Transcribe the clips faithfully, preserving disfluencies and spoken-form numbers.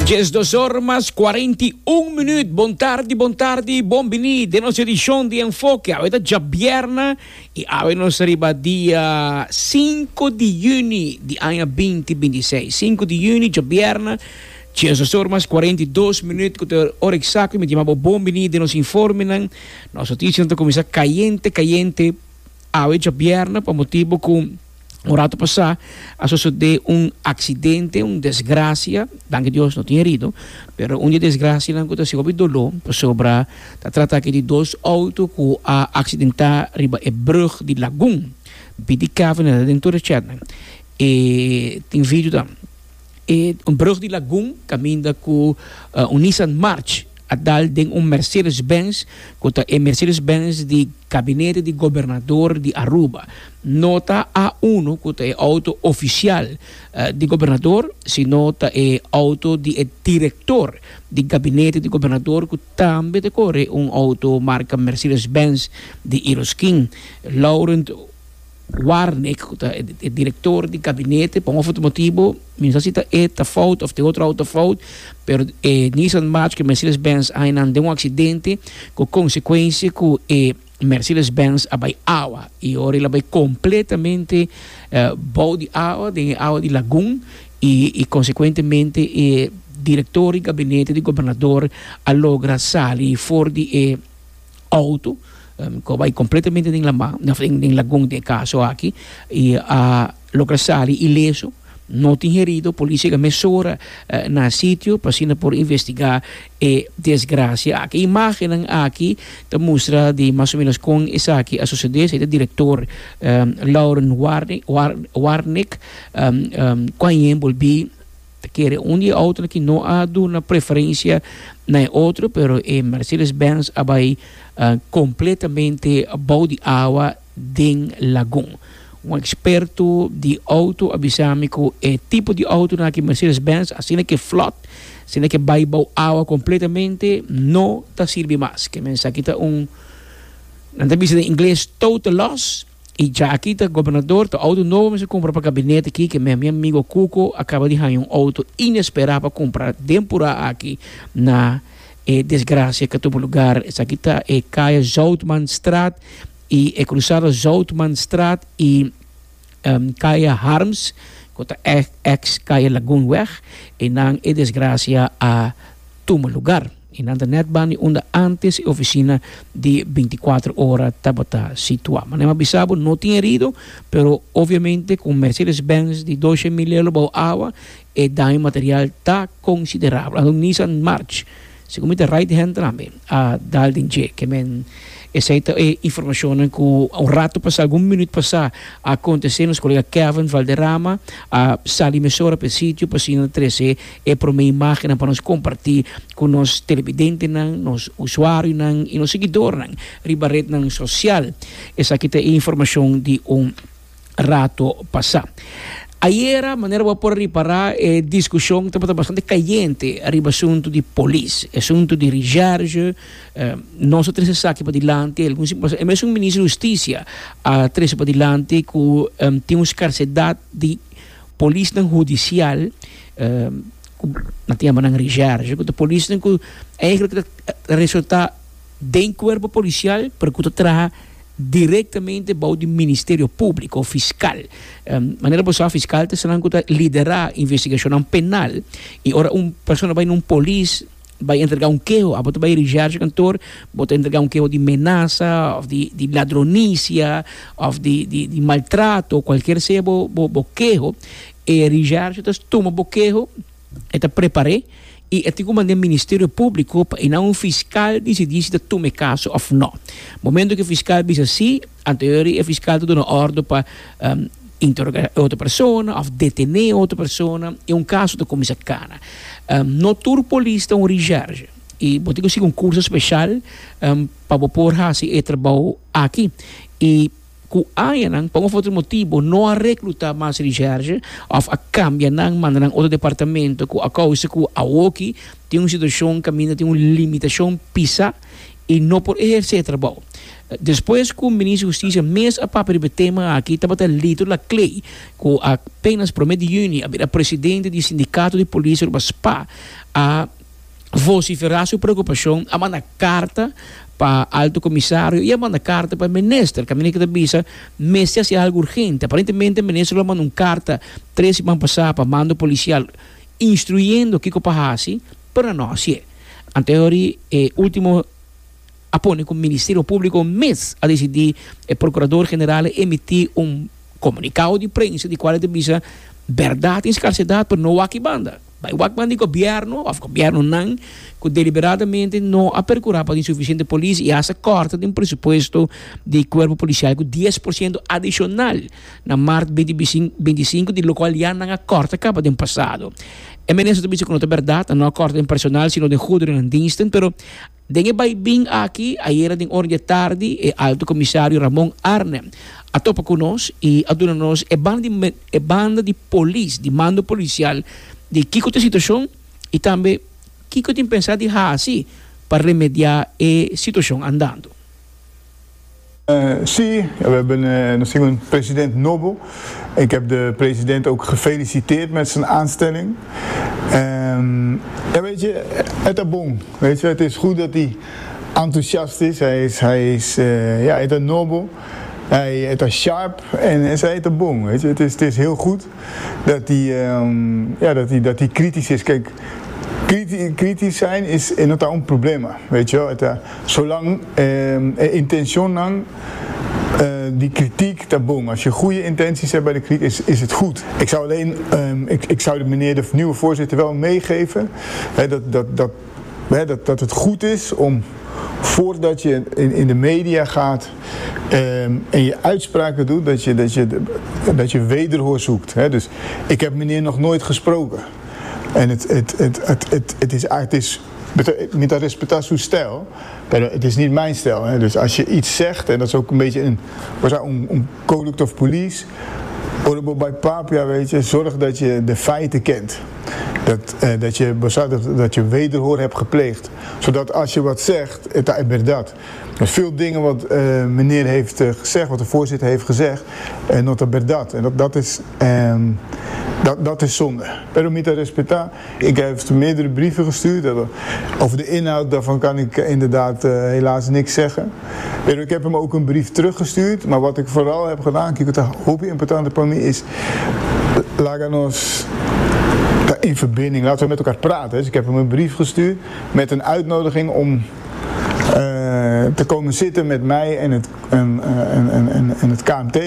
Diesdos or mas cuarenta y un minuut. Bon tardi, bon tardi, bon bini den nos edicion di Enfoke. Awe ta djabierna y awe nos riba dia cinco di juni di aña binti binti seis. Cinco di juni, djabierna, diesdos or mas cuarenta y dos minuut, cu ta ora exacto. Mi ta yama bo bon bini den nos informenan. Nos noticianan ta cuminsa cayente, cayente awe djabierna pa motibo cu un rato pasá a sosodé un aksidente, un desgrasia, danki Dios no tin herido, pero un di e desgrasianan ku ta hasi hopi doló, pasobra ta trata aki di dos outo ku a aksidentá riba e brùg di Lagun. Pidi Kevin e ta den tur e chatnan. E tin video ta. E un brùg di Lagun kaminda ku un Nissan March a dal den un Mercedes Benz ku ta e Mercedes Benz di kabinete di gobernador di Aruba. No ta A uno ku ta e outo ofisial di gobernador, sino ta e outo di e direktor di gabinete di gobernador ku tambe ta kore un outo marka Mercedes Benz di Iroskin. Laurent Warnick, ku ta e direktor di gabinete, pa un of otro motibu, mi no sa si ta e ta fout of ta e otro auto ta fout, pero e Nissan March ku e Mercedes Benz a haña nan den un aksidente ku konsekuensia ku e Mercedes Benz a bai awa i ora el a bai kompletamente bou di awa, den e awa di lagun, i i konsekuentemente e direktor di gabinete di gobernador a logra sali for di e auto ku a bai kompletamente den lama, den lagun den e kaso aki, i a logra sali ileso. No tin herido, polis yega mesora na sitio pa asina por investigá e desgrasia aki. E imágennan aki ta mustra di mas o menos kon esaki a sosodé. Esei ta direktor Lauren Warnick ku a enbolbí. Ta kere un di e autonan ki no a duna preferencia na e otro, pero e Mercedes Benz a bai completamente bou di awa den lagun. Un experto di auto a bisa mi cu e tipo di autonan aki Mercedes Benz asina ke flot, asina ke bai bou awa completamente, no ta sirbi mas. Ke men esaki ta un, nan ta bisa den ingles total loss. I djaki ta gobernador ta auto nobo mester cumpra pa gabinete aki ke mi amigo Cuco a caba di haña un auto inespera pa cumpra den pura aki na e desgracia ke a tuma lugar. Esaki ta e kaya Zoutmanstraat i e cruzada Zoutmanstraat i kaya Harms ku ta ex kaya Lagunweg i nan e desgracia a tuma lugar. I nan ta nèt banda unda ántes e ofisina di bintikuater ora tabata situá. Manera mi a bisa bo, no tin herido, pero obviamente ku un Mercedes Benz di doshe mil euro bou awa, e daño material ta konsiderabel. Anto Nissan March, segun mi ta right hand tambe, a dal den dje. Ke men esei ta e informashonnan ku un rato pasá, algun minüt pasá a kontesé. Nos kolega Kevin Valderrama a sali mesora pa e sitio pa asina trese e promé imágennan pa nos kompartí ku nos televidentenan, nos usuarionan i nos siguidornan riba retnan sosial. Esaki ta e informashon di un rato pasá. Ayera, manera bo a por ripará, e diskushon tabata bastante kayente riba asuntu di polis, asuntu di recherche. Nos a trese esaki padilanti, algun siman pasá e mesun minister di hustisia a trese padilanti ku tin un skarsedat di polisnan hudisial ku nan ta yama nan recherche, ku ta polisnan ku eigenlijk ta resultá den kuerpo polisial pero ku ta traha directamente bou di Ministerio Publico, fiscal. Manera bo sa, fiscal ta esnan cu ta lidera investigacionnan penal y ora un persona bay na un polis bay entrega un keho, abo ta bay recherche kantoor, bo ta entrega un keho di menasa of di di ladronicia of di di di maltrato, cualkier sea bo bo keho, e recherche ta tuma bo keho, e ta prepar'é i e tin ku manda e Ministerio Públiko pa einan un fiskal disidí si ta tuma e kaso òf nò. Momento ku e fiskal bisa sí, anto e fiskal ta duna òrdu pa interogá e otro persona òf detené e otro persona i un kaso ta kuminsá kana. No tur polis ta un rishèrshe i bo tin ku sigui un kurso speshal pa bo por hasi e trabou aki. I ku añanan pa un of otro motibu no a rekluta mas rishèrshe òf a kambia nan manda nan otro departamento ku a kousa ku awoki tin un situashon kaminda tin un limitashon pisa I no por ehersé trabou. Despues ku Minister di Hustisia mes a papia riba e tema aki, tabata Lito Laclé, ku apenas promé di yüni a bira presidente di sindikato di polis riba spa, a vosiferá su preokupashon, a manda karta pa Alto Komisario i a manda karta pa minister. Kaminda ku ta bisa mester hasi algu urgente. Aparentemente minister lo a manda un karta tres siman pasá pa mando polisial instruyendo kiko pa hasi, pero nan no a hasié. Anteori e último a pone ku Ministerio Públiko mes a disidí, e Prokurador General a emití un komunikado di prensa di kual e ta bisa bèrdat tin skarsedat pero no wak i banda. Bai wak banda di gobièrnu òf gobièrnunan ku deliberadamente no a perkurá pa tin sufisiente polis i hasta kòrta den presupuesto di kuerpo polisial ku dies por siento adishonal na mart binti binti sinku di lokual ya nan a kòrta kaba den pasado. E minister ta bisa ku no ta bèrdat, nan no a kòrta den personal sino den goederennan diensten, pero Den e bai-bin aki, ayera den ora di e tardi, e Alto Comisario Ramon Arnhem a topa cu nos y a duna nos e banda di e banda di polis, di mando policial, di kico ta e situacion y tambe kico tin pensa di haci pa remedia e situacion andando. Sí, we hebben nos tin un president nobo. Ik heb de president ook gefeliciteerd met zijn aanstelling. Ja, weet je, het ta bon. Weet je, het is goed dat hij enthousiast is. Hij is, hij is, ja, het ta nobo. Hij het ta sharp en hij ta bon. Weet je, het is, het is heel goed dat hij, ja, dat hij, dat hij kritisch is. Kijk, kritisch zijn is no ta un problema, weet je wel. Het ta, zolang e intencionnan di kritiek ta bon. Als je goede intenties hebt bij de kritiek, is, is het goed. Ik zou alleen, ik, ik zou de meneer de nieuwe voorzitter wel meegeven, hè, dat, dat, dat, hè, dat, dat het goed is om voordat je in, in de media gaat en je uitspraken doet, dat je, dat je, dat je wederhoor zoekt. Hè. Dus ik heb meneer nog nooit gesproken. En het, het, het, het, het, het is, het is, mi ta respetá su stijl, pero het is niet mijn stijl. Hè. Dus als je iets zegt, en dat is ook een beetje een, een, een code of police, ora bo bai papia, weet je, zorg dat je de feiten kent. Dat, eh, dat, je, dat, dat je wederhoor hebt gepleegd. Zodat als je wat zegt, het is verdad. Dus veel dingen wat eh, meneer heeft eh, gezegd, wat de voorzitter heeft gezegd, eh, no ta verdad. En dat, dat is, eh, dat, dat is zonde. Pero mi ta respetá. Ik heb meerdere brieven gestuurd. Over de inhoud daarvan kan ik inderdaad uh, helaas niks zeggen. Pero ik heb hem ook een brief teruggestuurd. Maar wat ik vooral heb gedaan, kijk, wat hopi importante pa mi is, laga nos in verbinding, laten we met elkaar praten. Dus ik heb hem een brief gestuurd met een uitnodiging om uh, te komen zitten met mij en het, en, en, en, en, en het K M T.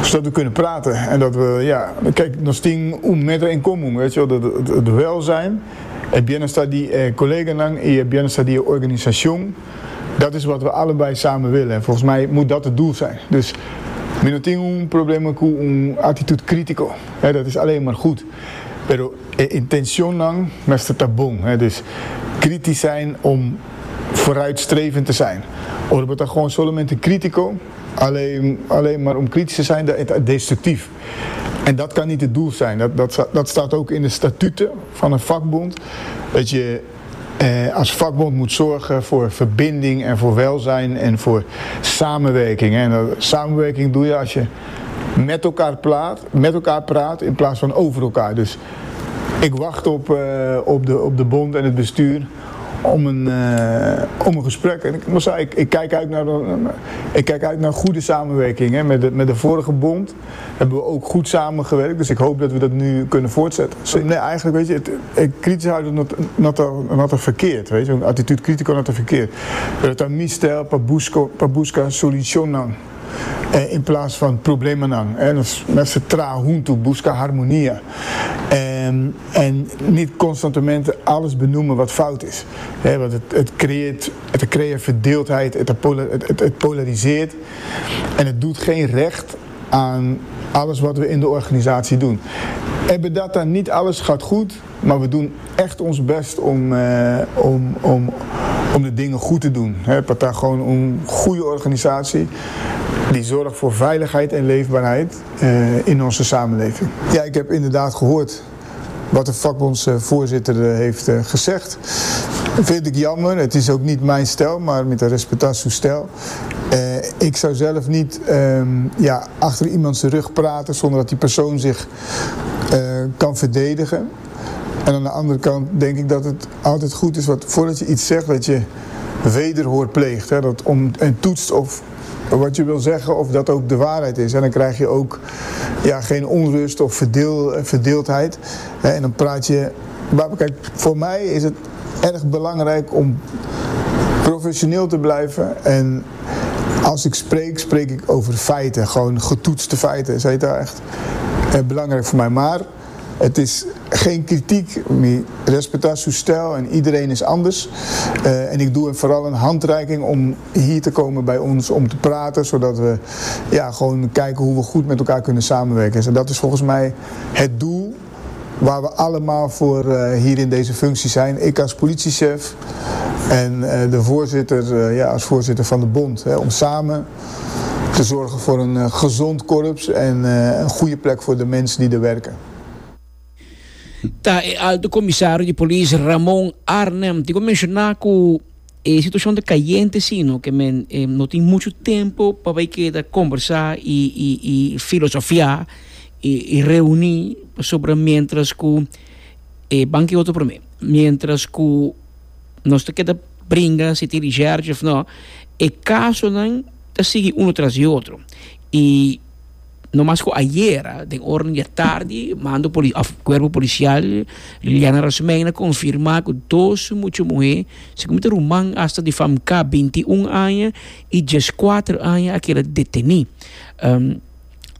Zodat we kunnen praten. En dat we, ja, kijk, nos tin un meta in comun, weet je wel, het, het, het welzijn, het bienestar di eh, colleganan en het bienestar di organisatie. Dat is wat we allebei samen willen. En volgens mij moet dat het doel zijn. Dus mi no tin un problema ku un aktitut krítiko. Dat is alleen maar goed. Pero e intenshonnan mester ta bon. Dus kritisch zijn om vooruitstrevend te zijn. Ora bo ta gewoon solamente krítiko, alleen, alleen maar om kritisch te zijn, dat is destructief. En dat kan niet het doel zijn. Dat, dat, dat staat ook in de statuten van een vakbond. Dat je eh, als vakbond moet zorgen voor verbinding en voor welzijn en voor samenwerking. En dat, samenwerking doe je als je met elkaar praat, met elkaar praat in plaats van over elkaar. Dus ik wacht op, uh, op, de, op de bond en het bestuur om een, uh, om een gesprek. En ik, moet zeggen, ik, ik, kijk uit naar, ik kijk uit naar goede samenwerking. Hè. Met, de, met de vorige bond hebben we ook goed samengewerkt. Dus ik hoop dat we dat nu kunnen voortzetten. Dus, nee, eigenlijk weet je, het, het kritisch houden no, no ta verkeerd. Weet je, een attitude kritico no ta verkeerd. Ta mi stijl, pa buska, pa buska solushonnan. Eh, in plaats van problemen. En mester traha huntu, buska harmonia. En, en niet constantemente alles benoemen wat fout is. He, want het, het creëert, het creëert verdeeldheid, het, het, het polariseert. En het doet geen recht aan alles wat we in de organisatie doen. En dat dan niet alles gaat goed, maar we doen echt ons best om, uh, om, om, om de dingen goed te doen. He, pa ta gewoon een goede organisatie die zorgt voor veiligheid en leefbaarheid uh, in onze samenleving. Ja, ik heb inderdaad gehoord wat de vakbondsvoorzitter heeft gezegd. Vind ik jammer. Het is ook niet mijn stijl, maar met de respectatie stijl. Uh, ik zou zelf niet um, ja, achter iemand zijn rug praten zonder dat die persoon zich uh, kan verdedigen. En aan de andere kant denk ik dat het altijd goed is wat, voordat je iets zegt, dat je wederhoor pleegt. Hè? Dat om, en toetst of wat je wil zeggen of dat ook de waarheid is. En dan krijg je ook, ja, geen onrust of verdeel, verdeeldheid. En dan praat je... Maar kijk, voor mij is het erg belangrijk om professioneel te blijven. En als ik spreek, spreek ik over feiten. Gewoon getoetste feiten. Is dat echt belangrijk voor mij. Maar het is geen kritiek. Respectatie stijl en iedereen is anders. Uh, en ik doe vooral een handreiking om hier te komen bij ons om te praten. Zodat we, ja, gewoon kijken hoe we goed met elkaar kunnen samenwerken. En dat is volgens mij het doel waar we allemaal voor uh, hier in deze functie zijn. Ik als politiechef en uh, de voorzitter, uh, ja, als voorzitter van de bond. Hè, om samen te zorgen voor een uh, gezond korps en uh, een goede plek voor de mensen die er werken. Ta e alto commissario di polis Ramon Arnhem. Tin ku menshoná ku e situashon ta kayente sí, no? Ke men eh, no tin muchu tempu pa keda kombersá i, i, i filosofiá i, i reuní sobre mientras ku eh, ban ku otro promé. Mientras ku nos keda bringa si tin recherche òf no, e kasonan ta sigui un tras di otro. I no mas ku ayera, den ora di atardi, mando poli, of, kuerpo polisial, Liliana Rasmijn a konfirmá ku dos mucha muhé, segun ruman hasta di Famka, bintiun aña i dieskuater aña, a keda detené. Um,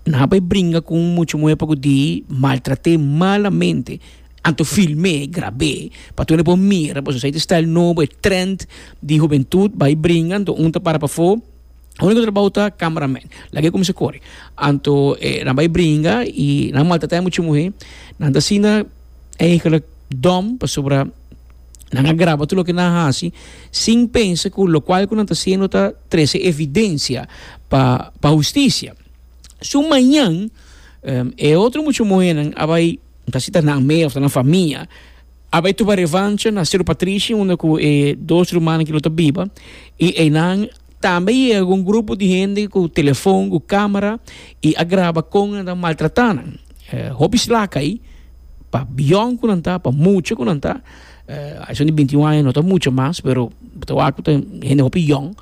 nan a bai bringa ku mucha muhé pa di maltrat'é malamente. Anto film'é, grab'é, pa tur por mira, pues esei ta e nobo trend di hubentut, bai bringa, anto un ta para pafó, úniko trabou ta cameraman. Lag'é kuminsá kore. Anto eh, nan bai bringa i nan maltratá mucha muhé. Nan ta asina eigenlijk dom pasobra nan a graba tur loke nan a hasi sin pensa ku lokual ku nan ta hasiendo ta trese evidensia pa pa hustisia. Su mañan um, e otro mucha muhénan a bai kasi ta nan mes òf nan famia a bai tuma revancha na Seru Patrishi unda ku e dos rumannan ku ta biba i einan tambe yega un grupo di hende ku telefòn, ku kámara i a graba kon nan ta maltratá nan. Eh, hopi sla a kai, pa yòn ku nan ta, pa mucha ku nan ta. Eh, esun di bintiun aña no ta mucha mas, pero ta wak ta hende hopi yòn.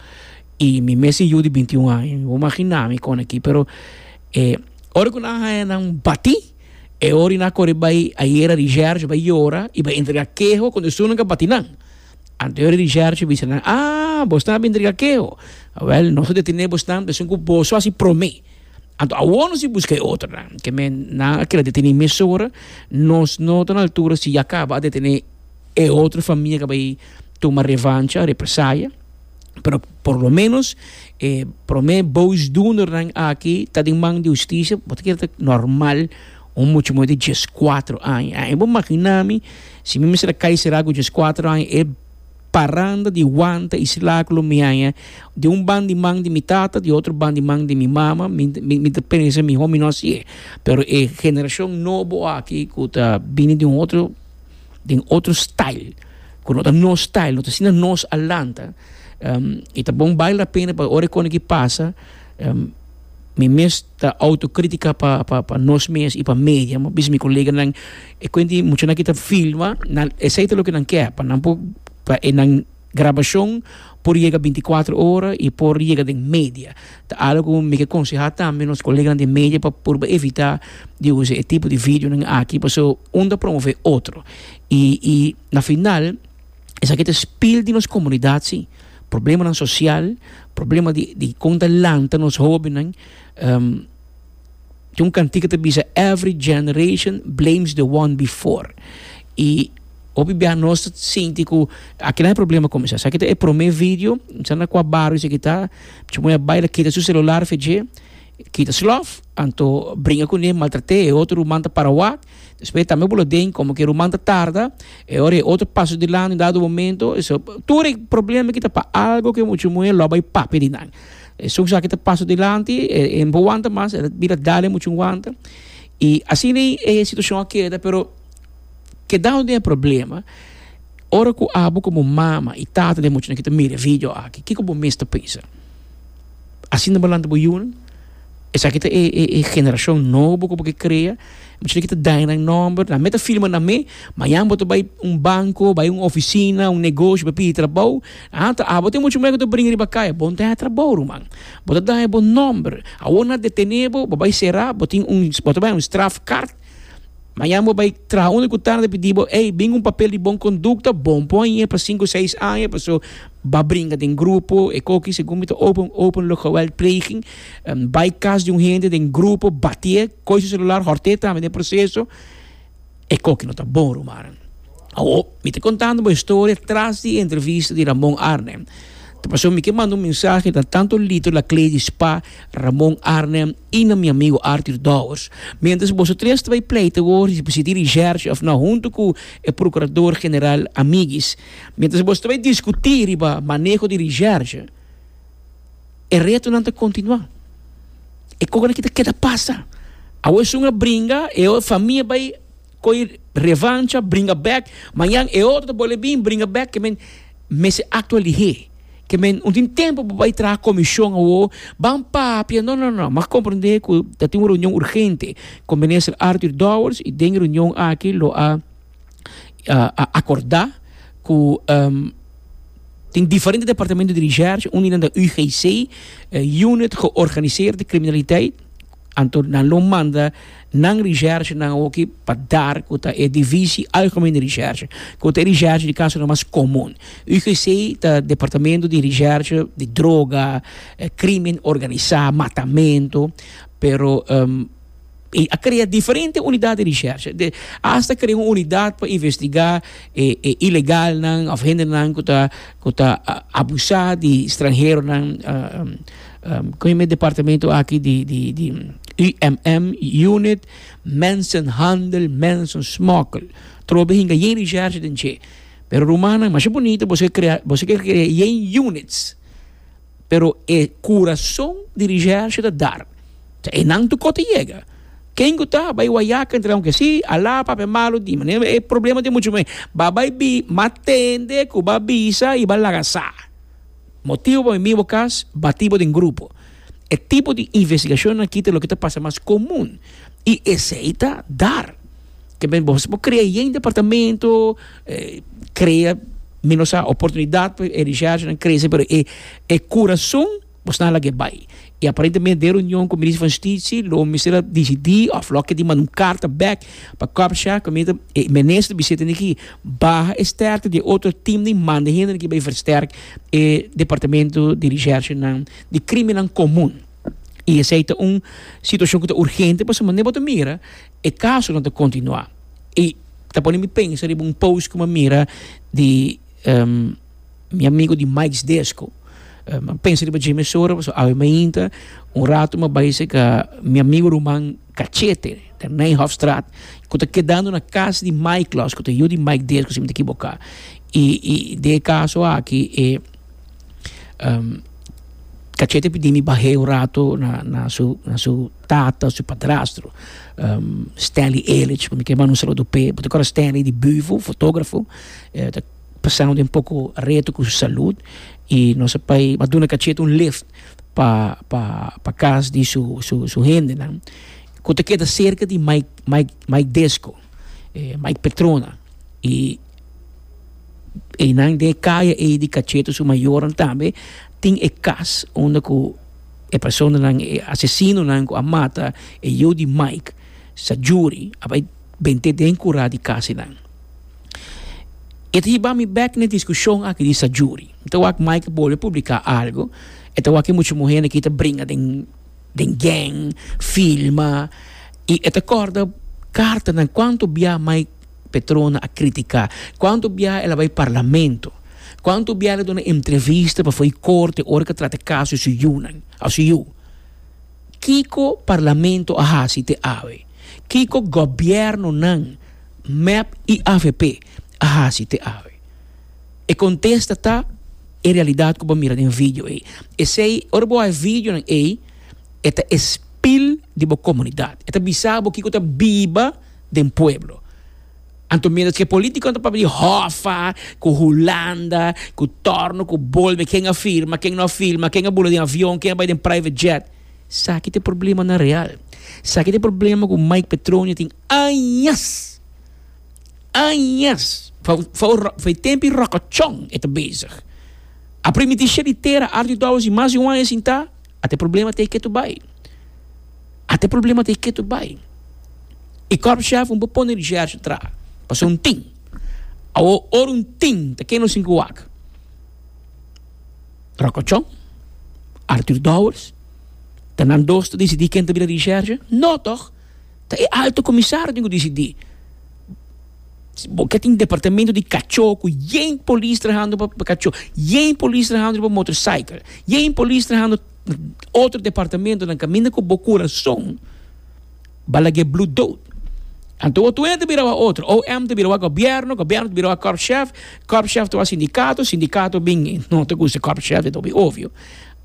I mi mes yu di bintiun aña, mi imaginá mi kon aki, pero eh, ora ku nan haña nan batí, e ora nan a kore bai ayera recherche bai yora i bai entregá keho kontra esunnan ku a bati nan. Anto recherche bisa nan, "Ah, boso a bin entregá keho. Wel, nos a detené boso, esun ku boso a hasi promé. Anto awor nos ta buska otronan." Ke men nan a keda detené mesora, nos no ta na altura si ya kaba a detené e otro famia ku a bai tuma revancha, represaya. Pero por lo menos eh, promé boosdoenernan aki ta den man di hustisia, pasobra ta normal un mucha muhé di dieskuater aña? Mi por imaginá mi, si mi mester kai sera ku dieskuater aña, e paranda di wanta i sla ku mi haña di un banda di man di mi tata, di otro banda di man di mi mama, mi mi mi ta pensa mihó mi no hasié. Pero e generashon nobo aki ku ta bini di un otro di un otro style, ku no ta nos style, no ta asina nos a lanta. Um, i ta bon bale la pena pa ora ku pasa, um, mi mes ta outokrítika pa pa pa nos mes i pa media, ma bisa mi koleganan e kuenta muchanan ku ta filma, nan esei ta loke nan ke, pa nan por pa e nan grabashon por yega bintikuater ora i por yega den media. Ta algu mi ke konsehá tambe nos koleganan di media pa por evitá di usa e tipo di videonan aki, paso un ta promové otro. I i na final esaki ta spil di nos komunidat sí. Problemanan sosial, problema di di kon ta lanta nos hóbennan. Um, tin un kantika ta bisa, "Every generation blames the one before." I hopi bia nos ta sinti ku aki e problema a kuminsá. Esaki ta e promé video, sa na kua bario esaki ta, mucha bai kita su selular fei, kita slof, anto bringa kuné, maltrat'é, e otro ruman ta para wak, despues tambe bula den, komo ku e ruman ta tarda, e ora e otro pasa dilanti dado momento, eso, tur e problema ku ta pa algu ku mucha muhé lo bai papia di nan. Esun sa ku ta pasa dilanti, e, e no wanta mas, e bira dal e mucha wanta. I asina e situashon a keda, pero kedando den problema. Ora ku abo komo mama i tata di e muchanan aki ta mira e video aki, kiko bo mes ta pensa? Asina bo lanta bo yunan? Esaki ta e e e generashon nobo ku bo ke krea? Muchanan aki ta daña nan nòmber, nan me ta filma nan me, mañan bo ta bai un banko, bai un ofisina, un negoshi pa pidi trabou, ah ta abo ta e mucha muhé ku ta bringa riba kaya, bo no ta haña trabou ruman, bo ta daña bo nòmber, awor nan a detené bo, bo bai será, bo tin un bo ta bai un strafkaart. Mañan bo bai traha unda ku tanda ta pidi bo, ey, bin un papel di bon kondukta, bon por hañ'é pa sinku seis aña, paso ba bringa den grupo, e koki segun mi ta open, openlijk geweldpleging, bai kas di un hende den grupo, batié, koy su selular, hòrt'é tambe den e proseso, e koki no ta bon rumannan. Awor, mi ta kontando bo e storia tras di e entrevista di Ramon Arnhem. Ta pasobra mi ke manda un mensahe na tanto Lito Laclé di spa, Ramon Arnhem i na mi amigo Arthur Dowers. Mientras boso tres ta bai pleita awor si tin recherche of no hunto ku e Procurador General Amiguis, mientras boso ta bai diskutí riba maneho di recherche, e retonan ta kontinuá. E kokonan aki ta keda pasa. Awor esun a bringa, e famia bai Koe revancha, bringa bek, mañan e otro ta bolbe bin, bringa bek, ke men mester actua lihé. Ke men un tin tempo pa bai traha comision awo, ban papia, no, no, no, m'a comprende cu ta tin un reunion urgente cu Minister Arthur Dowers y den e reunion aki lo a a acorda cu tin diferente departamento di recherche, un di nan ta U G C, Unit Georganiseerde Criminaliteit, Anto nan lo manda nan recherchenan awoki pa dar ku ta e Divisie Algemene Recherche, ku ta e recherche di kasonan mas komun. U G C ta departamento di recherche di droga, krimen organisá, matamento, pero i a krea diferente unidat di recherche. De, hasta krea un unidat pa investigá e e ilegalnan òf hendenan ku ta ku ta abusá di stranheronan. Kon e departamento aki di di di U M M, Unit Mensenhandel Mensensmokkel. Trobe hinga yen recherche den dje. Pero rumannan, masha bunita boso ke krea, boso ke krea yen units. Pero e kurason di recherche ta dar. Ta enan tu kote yega. Ken ku ta bai Wayaca entre aunke si ala papia malo di manera e problema tin mucho me. Ba bai bi matende ku ba bisa i ba laga sa. Motibu pa mi mibo kas bati bo den grupo. E tipo di investigashonnan aki ta loke ta pasa mas komun i esei ta dar. Ke men bo por krea yen departamento, krea mi no sa oportunidat pa e rishershnan krese pero e e kurason bo sta laga e bai. I aparentemente den reunion ku Minister van Justitie lo mester a disidí òf lo a keda manda un karta bèk pa Korpschak ku mi ta e minister bisa tene ki baha e sterkte di e otro team i manda hende ki bai versterk e departamento di recherchenan di krimennan komun. I esei ta un situashon ku ta urgente pasobra manera bo ta mira e kasonan ta kontinuá. I ta pone mi pensa riba un post ku mi a mira di mi amigo di Mike's Disco. Mi a pensa riba dje mesora pasobra awe mainta un rato mi a bai serka mi amigo ruman Cachete den Nijnhofstraat ku ta kedando na kas di Mike Los ku ta yu di Mike Disco si mi ta ekiboká. I i den e kaso aki e Cachete a pidi mi bah'é un rato na na su na su tata su padrastro Stanley Elich ku mi ke manda un saludo p'e. Bo ta kòrda Stanley di Buvo fotografo ta pasando den poko reto ku su salud i nos a bai a duna Cachete un lift pa pa pa kas di su su su hendenan ku ta keda serka di Mike Mike Mike Disco Mike Petrona i einan den e kaya ei di Cachete su mayornan tambe tin e kas unda ku e personanan e asesinonan ku a mata e yu di Mike Sajuri a bai bent'é den kura di kas einan. E ta hiba mi bek na e diskushon aki di Sajuri. Mi ta wak Mike a bolbe publiká algu, e ta wak e mucha muhénan aki ta bringa den den gang, filma i e ta kòrda kartanan kuantu bia Mike Petrona a kritiká, kuantu bia el a bai parlamento, kuantu bia el a duna entrevista pafó e korte ora ku a trata e kaso di su yunan òf su yu. Kiko parlamento a hasi te awe? Kiko gobièrnunan, mep i A V P, a hasi te awe? E kontesta ta e realidat ku bo a mira den video ei. Esei, ora bo wak e videonan ei, e ta e spil di bo komunidat. E ta bisa bo kiko ta biba den pueblo. Anto mientras ku polítiko ta papia di Hoffa, ku Hulanda, ku torno, ku bolbe, ken a firma, ken no a firma, ken a bula den avion, ken a bai den private jet. Esaki ta e problemanan real. Esaki ta e problema ku Mike Petronia tin añas. Añas. For tempu Rokochon e ta bezig. A primintí di tera, Arthur Dowers i mas di un aña sintá, ata e problema t'ei ketu bai. Ata e problema t'ei ketu bai. E korpschef no por pone recherche traha. Pasobra no tin. Ora no tin, ta ken nos tin ku wak? Rokochon, Arthur Dowers, ta nan dos ta disidí ken ta bira recherche? No toch? Ta e alto komisario tin ku disidí. Bo tin departamento di kachó, ku yen polis trahando pa kachó, yen polis trahando pa motorcycle, yen polis trahando otro departamento na kaminda ku bo kurason, bo a lag'é blue dood. Anto otro ta bira otro, O M ta bira gobièrnu, gobièrnu ta bira korpschef, korpschef ta sindikato, sindikato bin no ta gusta korpschef, ta obvio.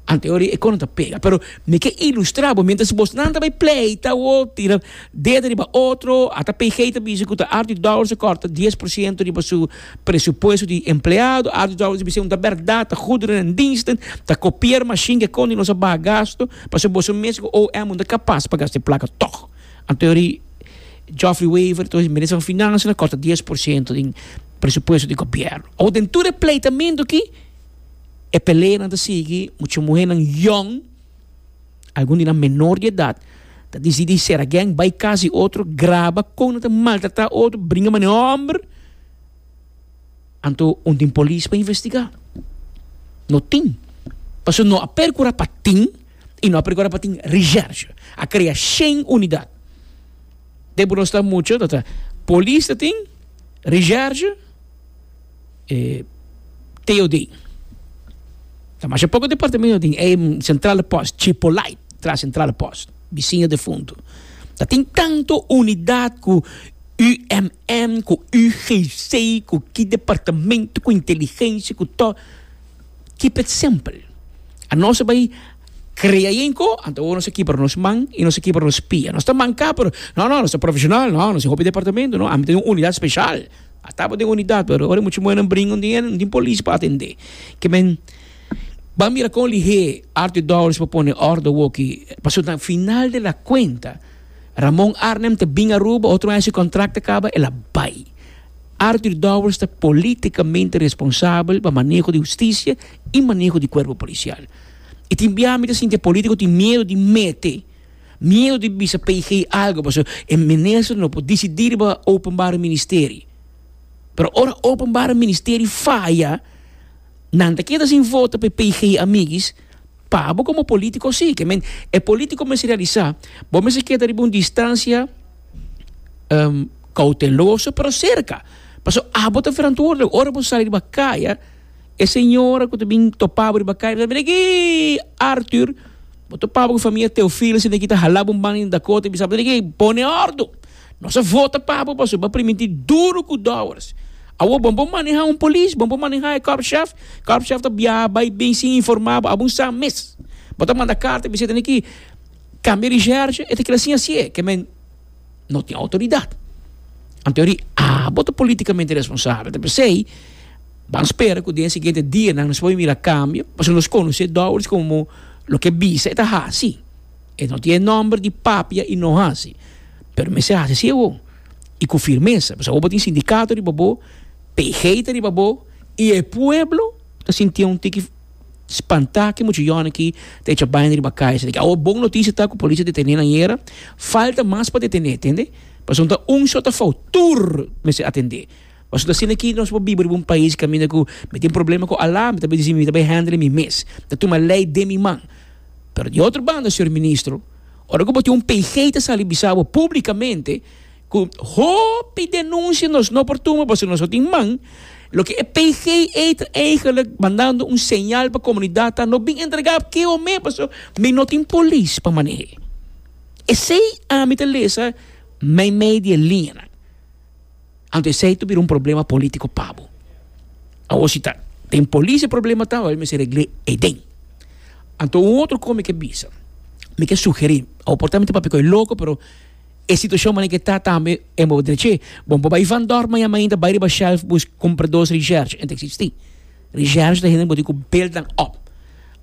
Anto e kos ta pega, pero mi ke ilustrá, mientras boso nan bai pleita o tira dedo riba otro, ata P G ta bisa ku Arthur Dowers a kòrta dies porshento di su presupuesto di empleado. Arthur Dowers bisa ta berdat, ta goederen en diensten, ta kopieermachine ku kon nos a gasto, pasobra boso mes O M no kapas pa gasta plaka toch. Anto Geoffrey Wever, anto minister van Financiën, kòrta dies porshento di presupuesto di gobièrnu. O den tur e pleitamentu aki, e pelea ta sigui, mucha muhénan young, algun di nan menor di edat, ta disidí sera gang, bai kas di otro, graba, kon ta maltratá otro, bringa manera hòmber. Anto, no tin polis pa investigá? No tin. Pasobra no a perkurá pa tin i no a perkurá pa tin recherche. A krea shen unidat. Debo no sta muchu, ta polis tin, recherche, eh, T O D. Ta mas poko departamento tin e centrale post, Chipolite, tras centrale post, bisiña defuntu. Ta tin tantu unidat ku U M M, ku U G C, ku ki departamento, ku inteligensia, ku to. Keep it simple. Anos bai krea inko, anto nos kibra nos man i nos kibra nos pia. Nos ta manka, pero no, no, nos ta profeshonal, no, nos tin departamento, no, ami tin un unidat spesial. Ata tin unidat, pero ora mucha muhé bringa un dia, tin polis pa atendé. Ke men ban mira kon lihé Arthur Dowers pa pone òrdu aki. Pasobra na final di la kuenta, Ramon Arnhem ta bin Aruba, otro aña su kontrakt a kaba, el a bai. Arthur Dowers ta polítikamente responsabel pa maneho di hustisia i maneho di kuerpo polisial. I tin bia mi sinti polítiko tin miedu di mete, miedu di bisa P G algu, pasobra e minister no por disidí pa openbaar ministerie. Pero ora openbaar ministerie faya, nan ta keda sin vota pa P G amigos, pa bo komo polítiko si, ke men e polítiko mester realisá, bo mester keda riba un distansia um, kouteloso pero serka. Pasobra abo ta verantwoordelijk. Ora bo sali riba kaya, e señora ku ta bin topa bo riba kaya, bin aki, Arthur, bo topa ku famia Teofilo, si kita hala un ban in Dakota, bisa aki, pone òrdu. Nos a vota pa bo, pasobra b'a primintí duru ku Dowers. Awo bo no por manehá un polis, bo no por manehá e korpschef, korpschef ta bia bai bin sin informá, abo n' sa mes. Bo ta manda karta, bisa aki, kambia recherche, e ta keda asina asina, ke men no tin outoridat. Anto, abo ta polítikamente responsabel. P'esei, ban spera ku den siguiente dia nos por mira kambio, pasobra nos konosé Dowers komo loke bisa ta hasi. E no tin nòmber di papia i no hasi. Pero mester hasi si e i ku firmesa. Pasobra bo tin sindikato riba bo, P G ta riba bo, i e pueblo ta sinti un tiki spantá ku mucha yòn aki ta echa baina riba kaya. A bon notisia ta ku polis a detené nan ayera, falta mas pa detené, entendé? Pasobra un so ta tur mester atendé. Pasobra asina aki nos por biba den un pais kaminda ku mi tin problema ku ala, mi tambe mi tambe handle mi mes. Ta tuma lei den mi man. Pero di otro banda, señor ministro, ora ku tin un P G ta sali bisa bo públikamente ku hopi denunsia nos no por tuma, pasobra nos no tin man, loke e P G ta eigenlijk mandando un señal pa komunidat, no bin entregá ku mi, pasobra mi no tin polis pa manehá. Esei ami ta lesa meimei di liña. Anto esei ta bira un problema polítiko pa bo. Awor si ta, tin polis e problema ta, wel mester regl'é den. Anto un otro kos mi ke bisa, mi ke sugerí, oportunamente papia loko, pero E situacion manera cu ta tambe e bo dreche. Bon, bo bay Van Dorp mañana mainta, bay riba shelf bus cumpra dos recherche, e ta existi. Recherche ta hende bo cu bel dan op.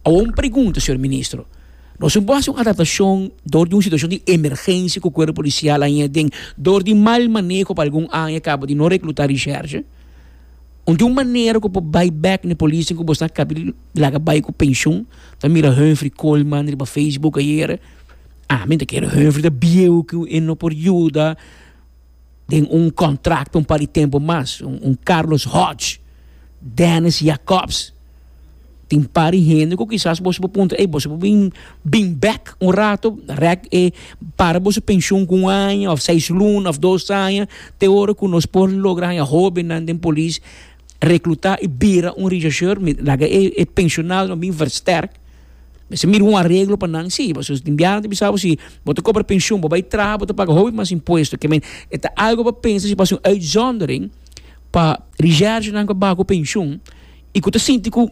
Un pregunta, señor ministro. Nos no por haci un adaptacion door di un situacion di emergencia cu e cuerpo policial ainda tin, door di mal maneho pa algun aña caba di no recluta recherche. Un di un manera cu por bay back na polis cu bo a caba laga bay cu pensioen. Dan mira Humphrey Coleman riba Facebook ayera. Ah, mi kier Humphrey ta bieu cu e no por yuda. Den un contrato un par di tempo mas. Un, un Carlos Hodge, Dennis Jacobs. Tin par di hende cu kisas bo por puntra, ei, bo por bin bin back un rato, rek e para bo pensioen cu un aña, of seis luna, of dos aña, te ora cu nos por logra hoben den polis recluta y bira un rechercheur, laga e, e pensionado bin versterk. Se mira un areglo pa nan, si, bo tin biaha di bisa si bo ta cobra pensioen, bo bay traha, bo ta paga hopi mas impuesto, kiermen ta algo pa pensa si pasa un uitzondering pa recherche nan cu bay cu pensioen y cu ta sinti cu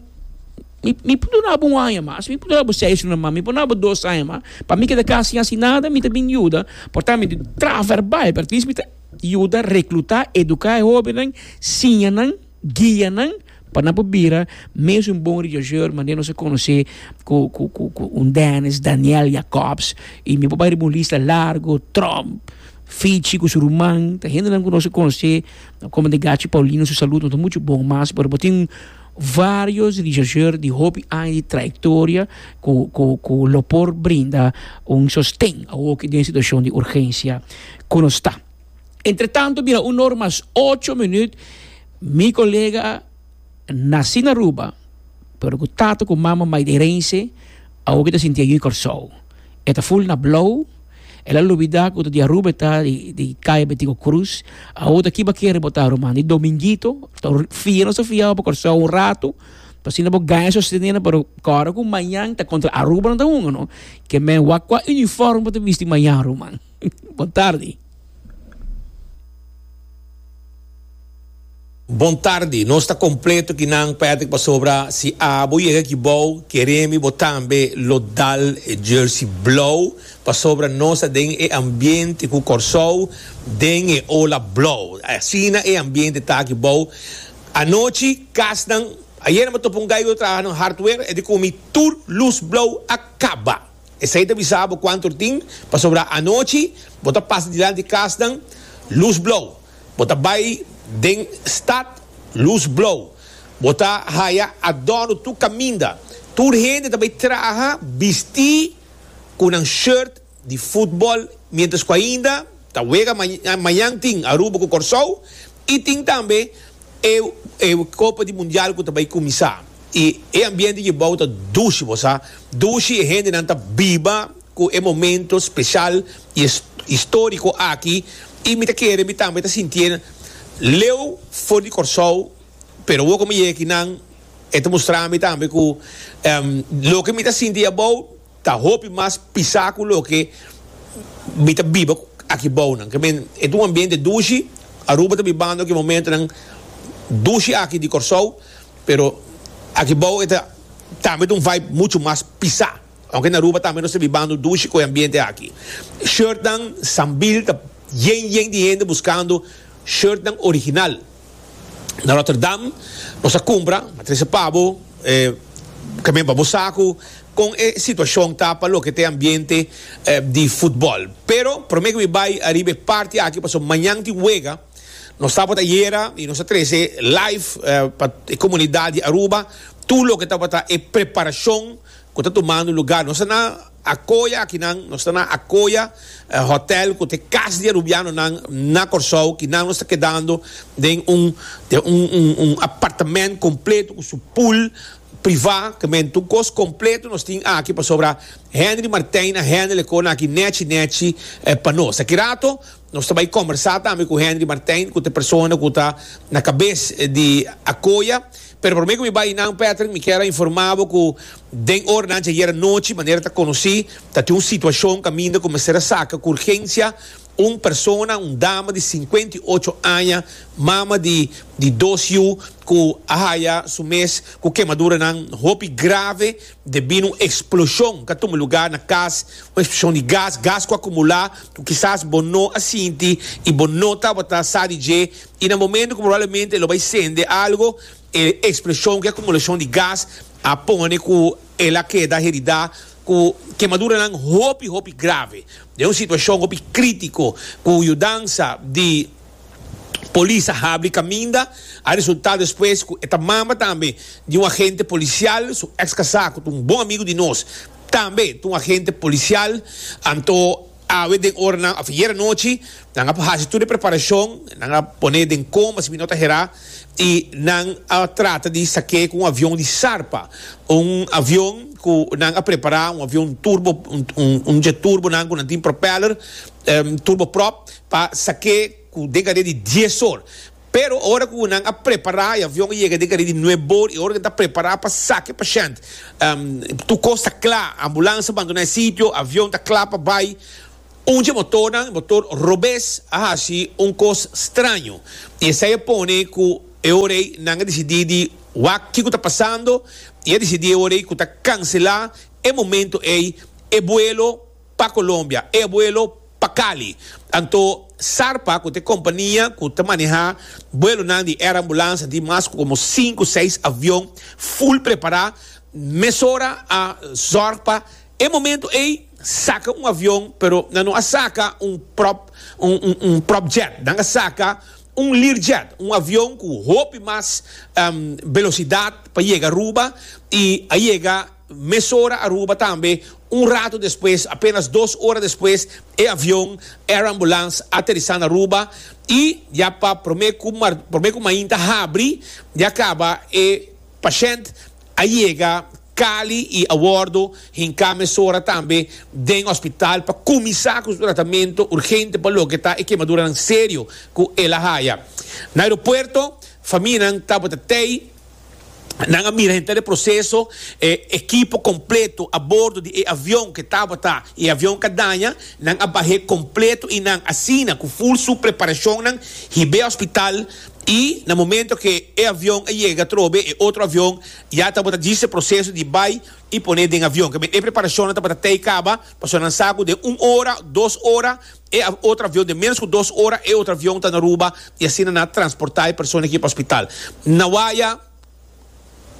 mi mi por duna un aña mas, mi por duna seis luna mas, mi por duna dos aña mas, pa mi keda casi asina nada, mi tambe yuda, por tanto, mi traha verbal, pero at least mi yuda recluta, educa e hobennan, siña nan, guia nan, pa nan bira mes un bon rechercheur, manera nos conoce cu cu cu cu un Dennis, Daniel Jacobs, y mi por bay un lista largo, Trump, Fichi cu su ruman, ta hende cu nos conoce, como de Gachi Paulino, su salud no ta mucho bon mas, pero tin varios rechercheurs di hopi aña di trayectoria cu cu cu lo por brinda un sosten awor den situacion di urgencia cu nos ta. Entre tanto, mira, un or mas ocho minuut, mi colega naci na Aruba, pero cu tata cu mama madeirense, awor ta sinti ey Corsou. E ta full na blauw, el a lubida cu di Aruba ta di, di Caya Betico Croes, awor aki bo kier bota ruman, di Dominguito, fia no fia pa Corsou un rato, pa asina bo gana sostene, pero awor cu mañan ta contra Aruba no ta un, no? Kiermen wak cua uniform bo ta bisti mañan, ruman. Bon tardi. Bon tardi, nos ta completo akinan, Patrick, pasobra si abo yega aki bou, kere mi bo tambe lo dal jersey blauw, pasobra nos den e ambiente cu Corsou, den e ola blauw. Asina e ambiente ta aki bou. Anochi, casnan, ayera mi a topa un guy cu traha na hardware, e di cu mi tur luz blauw a caba. Esey ta bisa bo cuanto tin, pasobra anochi, bo ta pasa dilanti casnan, luz blauw. Bo ta bay den stad, luz blauw. Bo ta haya adorno tur caminda. Tur hende tambe traha bisti cu un shirt di futbol, mientras cu ainda ta wega mañan tin Aruba cu Corsou y tin tambe e e Copa di Mundial cu tambe cuminsa. Y e ambiente di bou ta dushi, bo sa. Dushi e hendenan ta biba cu e momento special y historico aki y mi ta kere mi tambe ta sintiendo leu for di Corsou, pero awor cu mi akinan e ta mustra mi tambe cu um, loke mi ta sinti abou ta hopi mas pisa cu loke mi ta biba aki bou nan. Kiermen e un ambiente dushi, Aruba ta bibando e momentonan dushi aki di Corsou, pero aki bou ta tambe un vibe mucho mas pisa. Aunke na Aruba tambe nos ta bibando dushi cu e ambiente aki. Shirtnan Sambil ta yen yen di hende buscando shirtnan original. Na Rotterdam, nos a cumpra, m'a trece pa bo, eh, tambe pa bo sa cu e situacion ta pa loke ta ambiente eh, di futbol. Pero, prome cu mi bay ariba parti aki, paso mañan tin wega, nos tabata ayera y nos a trece live eh, pa e comunidad di Aruba, tur loke tabata e preparacion cu ta tumando luga. Nos ta na Acoya akinan, nos ta na Acoya eh, Hotel, cu ta cas di Arubianonan na Corsou, akinan nos ta kedando den un den un, un, un apartamento completo cu su pool priva, kiermen tur cos completo nos tin aki pasobra Henry Martin, Henry Lecona aki nechi nechi eh, pa nos. Aki rato nos ta bay combersa tambe cu Henry Martin, cu ta e persona cu ta na cabes di Acoya. Pero prome cu mi bay nan, Patrick, mi kier informa cu den oranan ayera nochi, manera ta conoci, ta tin un situacion caminda cu mester a saca cu urgencia Un persona, un dama di sinkuenta i ocho aña, mama di di dos yu, ku a haya su mes ku kemaduranan hopi grave debí na un eksploshon ku a tuma lugá na kas, un eksploshon di gas, gas ku a akumulá ku kisas bo no a sinti i bo no tabata sa di dje, i na momento ku probablemente lo bai sende algu, e eksploshon ku e akumulashon di gas a pone ku el a keda heridá ku kemaduranan hopi hopi grave. Den un situashon hopi krítiko ku yudansa di polis a habri kaminda, a resultá despues ku e ta mama tambe di un agente polisial, su eks kasá ku ta un bon amigu di nos tambe ta un agente polisial. Anto awe den oranan òf ayer anochi nan a hasi tur e preparashon, nan a pone den koma si mi no ta herá i nan a trata di sak'é ku un avion di Sarpa, un avion ku nan a prepará, un avion turbo, un un dje turbonan ku nan tin propeller, turboprop, pa sak'é ku den kare di dies or. Pero ora ku nan a prepará, e avion a yega den kare di nuebe or, i ora ku nan ta prepará pa saka e pashènt, tur kos ta kla, ambulans a bandoná e sitio, avion ta kla pa bai. Un dje motornan, motor robes, a hasi un kos straño, i esei a pone ku e ora ei nan a disidí di wak kiko ta pasando, i a disidí e ora ei ku ta kanselá e momento ei e buelo pa Colombia, e buelo pa Cali. Anto Sarpa, ku ta e kompania ku ta manehá buelonan di Air Ambulance, tin mas ku komo sinku, seis avion ful prepará, mesora a zòrg pa e momento ei saka un avion, pero nan no a saka un prop, un, un, un prop jet, nan a saka un Learjet, un avion ku hopi mas um, velosidat pa yega Aruba, i a yega mesora Aruba tambe. Un rato despues, apenas dos ora despues, e avion Air Ambulance aterisa na Aruba i ya pa prome ku mar, prome ku mainta habri ya kaba e pashent a yega Cali i a wordo hinca mesora tambe den hospital pa cuminsa cu su tratamento urgente pa loke ta e kemaduranan serio cu el a haya. Na aeropuerto, famianan tabata tey, nan a mira henter e proceso, e ekipo completo a bordo di e avion ke tabata e avion ca daña, nan a bahe completo i nan asina cu full su preparacionnan hibe hospital. I na momento ke e avion a yega atrobe, e otro avion ya tabata djis e proseso di bai i pone den avion. Ke men e preparashonnan tabata tei kaba, pasobra nan sa ku den un ora, dos ora, e otro avion, den menos ku dos ora e otro avion ta na Aruba i asina nan a transportá e persona aki pa hospital. Na waya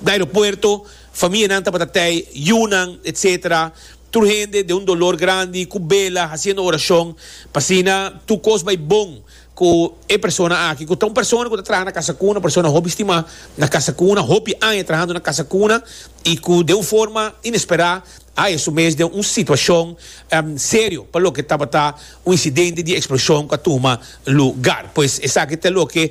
na aeropuerto, famianan tabata tei, yunan, etcetera. Tur hende den un dolor grandi, ku bela, hasiendo orashon pa asina tur kos bai bon ku e persona aki, ku ta un persona ku ta traha na Casa Cuna, un persona hopi stimá na Casa Cuna, hopi aña trahando na Casa Cuna, i ku den un forma inesperá a haña su mes den un situashon serio pa loke tabata un insidente di eksploshon ku a tuma lugar. Pues esaki ta loke